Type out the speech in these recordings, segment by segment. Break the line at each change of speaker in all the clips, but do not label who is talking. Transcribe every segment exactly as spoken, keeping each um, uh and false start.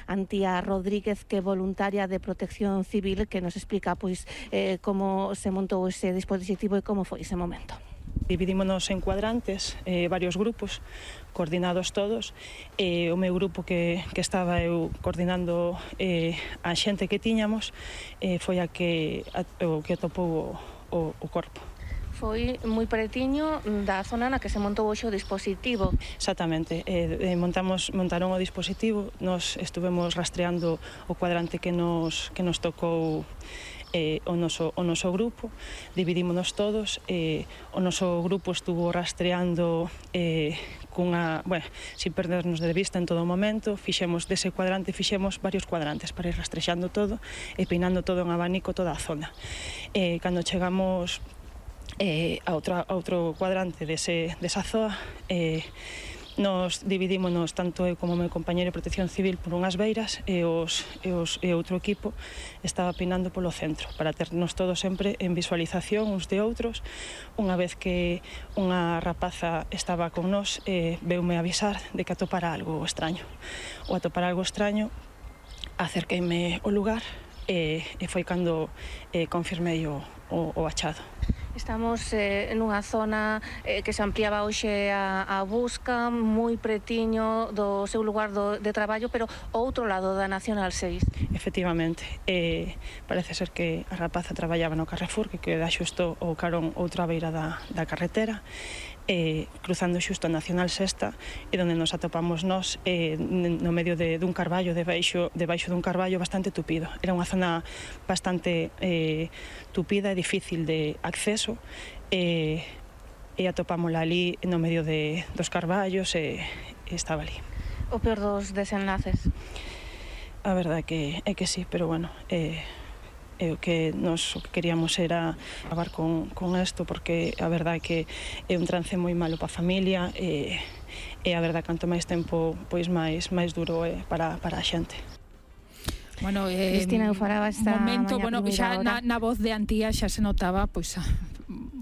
Antía Rodríguez, que é voluntaria de Protección Civil, que nos explica pois eh, como se montou ese dispositivo e como foi ese momento.
Dividímonos en cuadrantes, eh, varios grupos, coordinados todos. Eh, o meu grupo que, que estaba eu coordinando eh, a xente que tiñamos eh, foi a que, a, o que atopou o, o, o corpo.
Foi moi pretiño da zona na que se montou hoxe o dispositivo.
Exactamente, eh, montamos, montaron o dispositivo, nos estuvemos rastreando o cuadrante que nos, que nos tocou eh, o, noso, o noso grupo, dividímonos todos, eh, o noso grupo estuvo rastreando eh, cunha, bueno, sin perdernos de vista en todo o momento, fixemos dese cuadrante, fixemos varios cuadrantes para ir rastrexando todo e peinando todo en abanico toda a zona. Eh, cando chegamos Eh, a, outra, a outro cuadrante dese, desa zoa, eh, nos dividímonos tanto eu como o meu compañeiro de Protección Civil por unhas beiras e, os, e, os, e outro equipo estaba peinando polo centro para ternos todos sempre en visualización uns de outros. Unha vez que unha rapaza estaba con nós, eh, veume avisar de que atopara algo extraño. O atopar algo extraño, acerqueime ao lugar e, e foi cando eh, confirmei o, o, o achado.
Estamos eh, nunha zona eh, que se ampliaba hoxe a, a busca, moi pretiño do seu lugar do, de traballo, pero ao outro lado da Nacional seis.
Efectivamente, eh, parece ser que a rapaza traballaba no Carrefour, que queda xusto o carón outra beira da, da carretera, eh, cruzando xusto a Nacional Sexta, e donde nos atopamos nós eh, no medio de, dun carballo, debaixo, debaixo dun carballo bastante tupido. Era unha zona bastante eh, tupida e difícil de acceso, e, e atopámola ali no medio de, dos carballos e, e estaba ali.
O peor dos desenlaces?
A verdade que é que sí, pero bueno, eh, e o que nos o que queríamos era acabar con, con isto, porque a verdade é que é un trance moi malo para a familia e, e a verdade canto máis tempo pois máis máis duro é para, para a xente.
Bueno, eh,
Cristina, eu falaba esta
momento, bueno, xa
hora.
na, na voz de Antía xa se notaba pois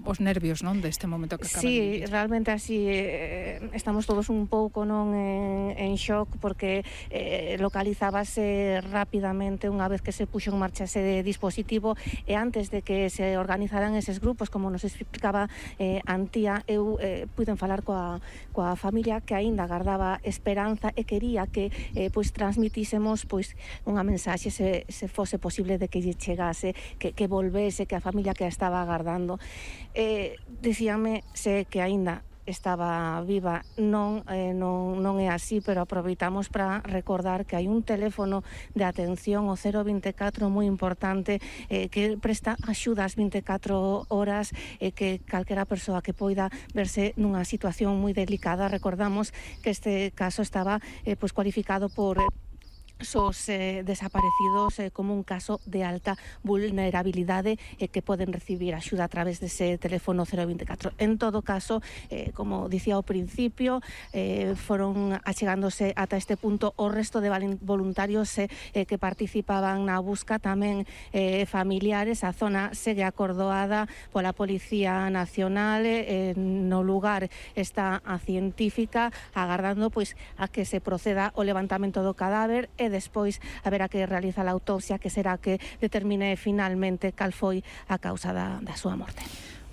os nervios, non, deste momento que acaba
sí,
de vivir.
Sí, realmente así eh, estamos todos un pouco non en, en shock, porque eh, localizábase rapidamente unha vez que se puxo en marcha ese dispositivo, e antes de que se organizaran eses grupos, como nos explicaba eh, Antía, eu eh, puiden falar coa, coa familia que aínda agardaba esperanza e quería que eh, pois transmitísemos pois unha mensaxe, se, se fose posible, de que lle chegase, que, que volvese, que a familia que a estaba agardando. Eh, dicíame se que aínda estaba viva. Non, eh, non, non é así, pero aproveitamos para recordar que hai un teléfono de atención, o cero vinte e catro, moi importante, eh, que presta axudas vinte e catro horas, e eh, que calquera persoa que poida verse nunha situación moi delicada. Recordamos que este caso estaba eh, pues, cualificado por... Eh, sos eh, desaparecidos eh, como un caso de alta vulnerabilidade eh, que poden recibir axuda a través dese teléfono cero vinte e catro. En todo caso, eh, como dicía ao principio, eh, foron achegándose ata este punto o resto de voluntarios eh, eh, que participaban na busca, tamén eh, familiares. A zona segue acordoada pola Policía Nacional, eh, no lugar está a científica agardando pois a que se proceda o levantamento do cadáver, e despois haberá que realizar a autopsia, que será que determine finalmente cal foi a causa da, da súa morte.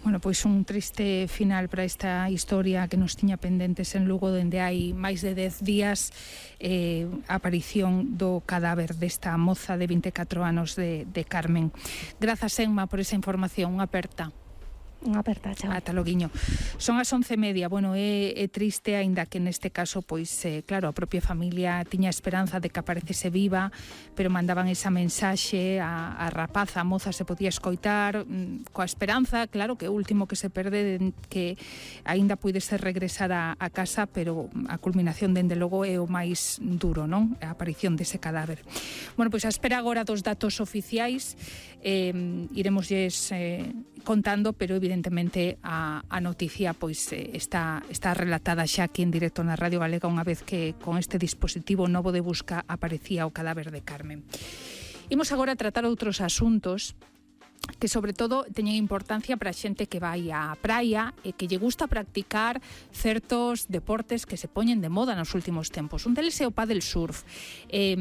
Bueno, pois un triste final para esta historia que nos tiña pendentes en Lugo, dende hai máis de dez días, eh, a aparición do cadáver desta moza de vinte e catro anos de, de Carmen. Grazas, Emma, por esa información. Unha aperta.
Unha aperta, chao.
Ata loguiño. Son as once e media. Bueno, é, é triste, aínda que neste caso, pois, eh, claro, a propia familia tiña esperanza de que aparecese viva, pero mandaban esa mensaxe, a, a rapaza, a moza se podía escoitar, mm, coa esperanza, claro, que o último que se perde, de, que aínda puidese regresar a, a casa, pero a culminación, dende logo, é o máis duro, non? A aparición dese cadáver. Bueno, pois a espera agora dos datos oficiais, eh, iremosles eh, contando, pero evidentemente a, a noticia pois eh, está, está relatada xa aquí en directo na Radio Galega, unha vez que con este dispositivo novo de busca aparecía o cadáver de Carmen. Imos agora a tratar outros asuntos. que sobre todo teñen importancia para a xente que vai á praia e que lle gusta practicar certos deportes que se poñen de moda nos últimos tempos. Un deles é o paddle surf. Eh,